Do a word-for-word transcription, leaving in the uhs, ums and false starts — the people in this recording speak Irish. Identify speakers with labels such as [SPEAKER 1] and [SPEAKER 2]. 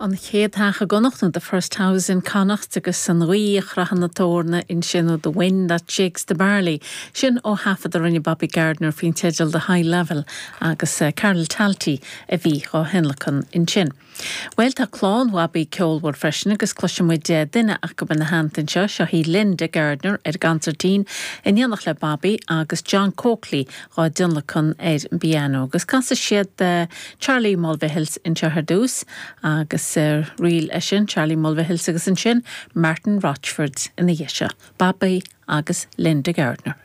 [SPEAKER 1] An chéad teach i gConnacht nó the first house in Connacht agus an ghaoth a chroitheann na heorna ansin ó the wind that shakes the barley. Sin ó thaifead a rinne Bobby Gardiner faoin teideal the high level agus uh, Carol Talty a bhí á thionlacan ansin. Well tá clann Bhobby ceolmhar freisin agus cloisfimid eh, duine acu ina theannta anseo seo í Linda Gardiner ar consairtín in éineacht le Bobby agus John Coakley á dtionlacan ar an bpianó agus casfaidh siad uh, Charlie Mulvihills anseo ar dtús agus uh, ríl sin Charlie Mulvihills agus ansin Martin Rochford ina dhiaidh seo, Bobby agus Linda Gardiner.